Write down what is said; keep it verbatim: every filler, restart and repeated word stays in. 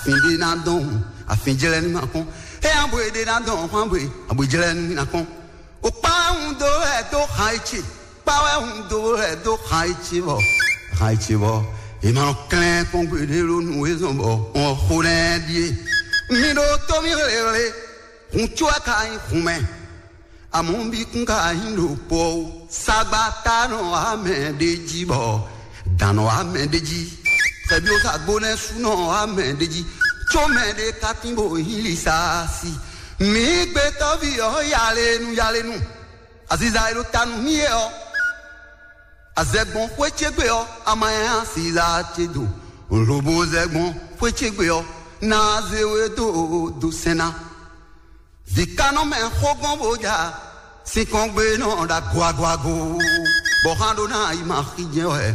Afin ɖé ná dɔn hǔn, afin jlɛ́ ní ma kpɔ́n. É abwe ɖé ná dɔn hǔn, abwe abwe jlɛ́ ní ma kpɔ́n. O kpá wɛ hun dó wɛ dó xan e ce, kpá wɛ hun dó wɛ dó xan e ce bɔ xan e ce bɔ è ma nɔ klɛ́n kpɔ́n gbeɖé ɖó nǔ e zɔn bɔ wɔn xo nɛ́ ɖíe. Mi ɖó tó mi hlehhle, hun có wɛ ka nyí hun mɛ. Amɔ̌ bí kún ka nyí ɖo kpɔ ó. Sagbata nɔ wá mɛ ɖé jí bɔ dǎn nɔ wá mɛ ɖé jí. Xɛbí ó sa gbónɛ́ sú nɔ wá mɛ ɖé jí. Có mɛ ɖé ka tín bó hín li sa si. Mǐ gbɛtɔ́ví ɔ́ yalenu yalenu. Aziza e ɖo ta nú mì é ɔ́, azɛgbɔn xwé ce gbe ɔ́, a ma nyanya aziza ce do. Lobo zɛgbɔn xwé ce gbe ɔ́, ná zé we dó do sɛn ná. Vǐ ka nɔ mɛ xó gbɔn bó ja, sinkɔn gbe nɔ ɖo agoagoago, bɔ xán ɖó ná yi ma xí jɛ́n wɛ.